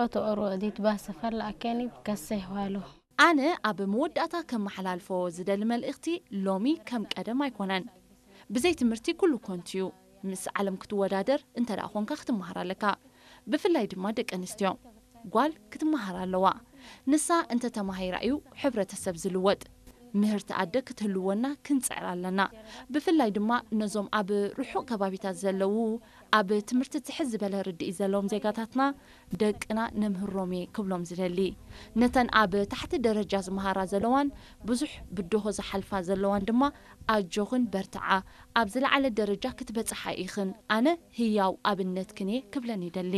Oto oro dit basa falla akeni kase hwalo. ኣነ ኣብ መወዳእታ ከመሓላልፎ ዝደሊ መልእኽቲ፣ ሎሚ ከም ቀደም ኣይኮነን። ብዘይ ትምህርቲ ኩሉ ኮንቱ እዩ። ምስ ዓለም ክትወዳደር እንተ ደኣ ኾንካ ክትመሃር ኣለካ። ብፍላይ ድማ ደቂ ኣንስትዮ። ጓል ክትመሃር ኣለዋ። ንሳ እንተ ተማሂራ እዩ ሕብረተሰብ ዝልወጥ። ምህርቲ ኣደ ክትህልወና ክንጽዕር ኣለና። ብፍላይ ድማ ነዞም ኣብ ርሑቕ ከባቢታት ዘለዉ ኣብ ትምህርቲ ትሕት ዝበለ ርድኢት ዘለዎም ዜጋታትና ደቅና ነምህሮም እየ ክብሎም ዝደሊ። ነተን ኣብ ታሕቲ ደረጃ ዝመሃራ ዘለዋን ብዙሕ ብድሆ ዝሓልፋ ዘለዋን ድማ ኣጆኽን በርትዓ፣ ኣብ ዝለዓለ ደረጃ ክትበጽሓ ኢኽን፣ ኣነ ህያው ኣብነትክን እየ ክብለን ይደሊ።